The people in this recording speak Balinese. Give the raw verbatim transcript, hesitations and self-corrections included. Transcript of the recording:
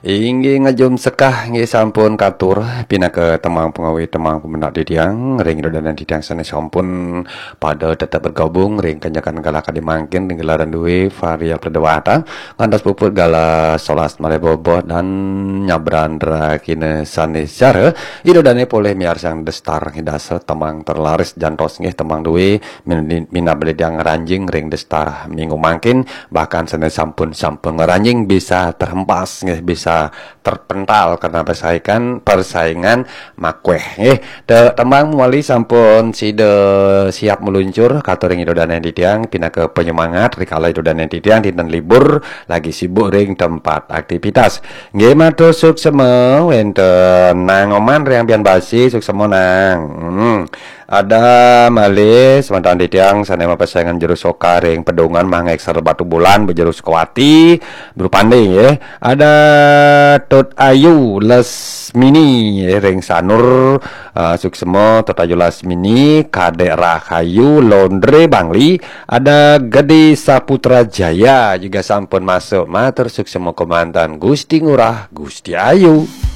Inggih ngajum sekah, inggih sampun katur pinaka tembang pangawi, tembang pamendak titiang ring ida dané titiang sané sampun pada tetep bergabung ring kanyakan galah kadi mangkin ring gelaran dué Varia Pradewata ngantos puput galah solas malih boboh dan nyabran rakina sané secara ida dané polih miarsang destar ngidasa tembang terlaris jantos nggih tembang dué min-, minab titiang ngranjing ring destar minggu mangkin bahkan sané sampun sampun ngranjing bisa terhempas nggih bisa terpental karena persaingan persaingan makweh nggih. Te tembang mawali sampun sida siap meluncur katur ring ida dané titiang pinaka penyemangat rikala ida dané titiang dinten libur lagi sibuk ring tempat aktivitas. Nggih matur suksema wénten Nang Oman ring Ambian Basi suksema Nang. Hmm. Ada malih semeton titiang sané mapasaingan juru soka ring Pedungan Mangék Sar Batu Bulan bejeru Sukawati berupanding nggih. Ada Tut Ayu Lesmini nggih ring Sanur, ah, suksema Tut Ayu Lesmini, Kadek Rahayu, Londre Bangli, ada Gede Saputra Jaya juga sampun masuk. Matur suksema kemanten Gusti Ngurah, Gusti Ayu.